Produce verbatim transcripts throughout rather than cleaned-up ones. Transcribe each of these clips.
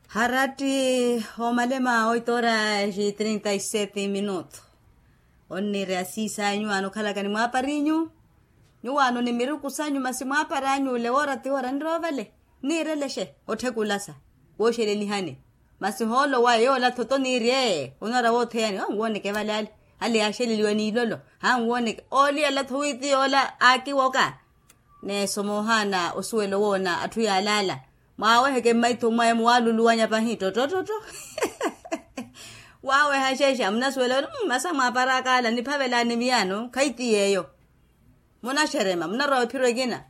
Haratti omalema oito horas e trinta e sete minuto. Onniire asiisa nyuwaano okhalaka ni mwaaparinyu. Nyuwaano ni miruku sanyu masi mwaaparanyu ole woora ti woora nirova vale. Niirelexe otthekulasa wooxelelihani. Masi hoolo waye yoola thoto niiri ee onara wootheyani anwooneke vale ale. Ale yaaxeleliwa n'ilolo anwooneke ooliyala-tho wi ti yoola aakiwoka. Neesoma ohaana osuwela owoona atthu yaalaala. Mwaaweheke mmaitho mwaye muwaaluluwanya pahi ttottotto. Waaweha xeexa munasuwela ori masa mwaaparaka ala niphavelaani miyaano khayi ti yeeyo. Munaxerema munarowa ephiro ekina.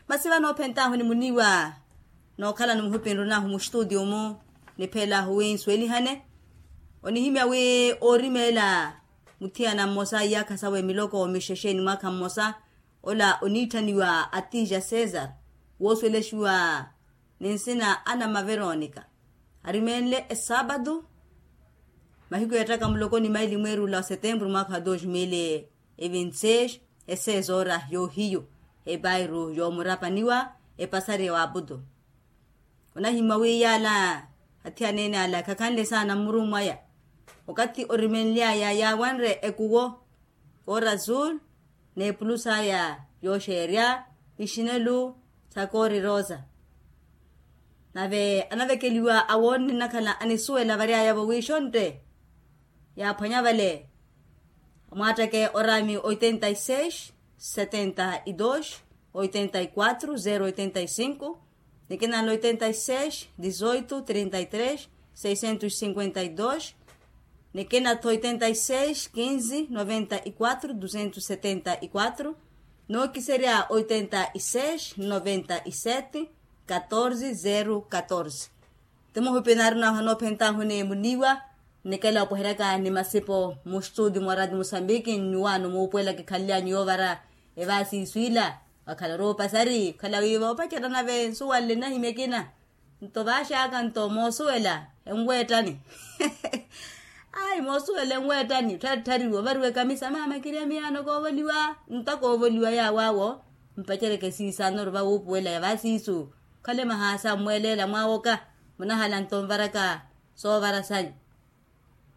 Masi vano ophentahu ni muniiwa nookhalano muhupi nrunahu mustutio-mu. Niphelaahu wi nsuwelihane onihimya wi oorimeela muthiyana mmosa iyaakha sawe miloko mixexe ni mwaakha mmosa. Ola oniitthaniwa atija cesar woosuwelexiwa ni nsina ana maveronica. Arimeenle esaapatu mahiku yeettaka muloko ni maili mweerula wa setempuru mwaakha wa dos mil e vinti seis. Eseezoora yoohiyu epairu yoomurapaniwa epasariya wa aputu. Onahimwa wi yaala athiyaneene ala khakhanle saana mmurumu aya. Okathi orimenly'aya yaawanre ekuwo koora azul n'epulus'aya yooxeerya ixinelu sa koori rosa. Nave anavekeliwa awoonne nnakhala anisuwela vary'aya-vo wi xontte yaaphwanya vale. Mwaatteke oraami oitenta y seis setenta y dos oitenta y quatro zero oitenta y cinco. Nikina nla oitenta y seis dizoito trinta y tres seiscentos cinquenta y dos. Nikina-tho oitenta y seis quinze noventa y quatro duzentos setenta y quatro. Nookiserya oitenta y seis noventa y sete catorze zero catorze. Ti muhupi naari nahu anoophentahu ni muniiwa. Nnikela opweheryaka ni masipo mustutio mwa radio musambiki nnyuwaano muupuwela kikhanlyanyu yoovara evaasi isu ila. Wakhala orowa opasari okhala wi voopacerya nave nsuwanle nnahimya ekina. Nto vaaxaka nto moosuwela enweettani. Ayi moosuwela enweettani ottharittariwa ovariwa ekamisa maama kirya miyaano koovoliwa. Nto koovoliwa yaawaawo mpaceryeke siisaano ori vawuupuwela yavaasi isu. Okhale mahaasa mmweeleela mwaawoka munahala nto nvaraka soovara sanyu.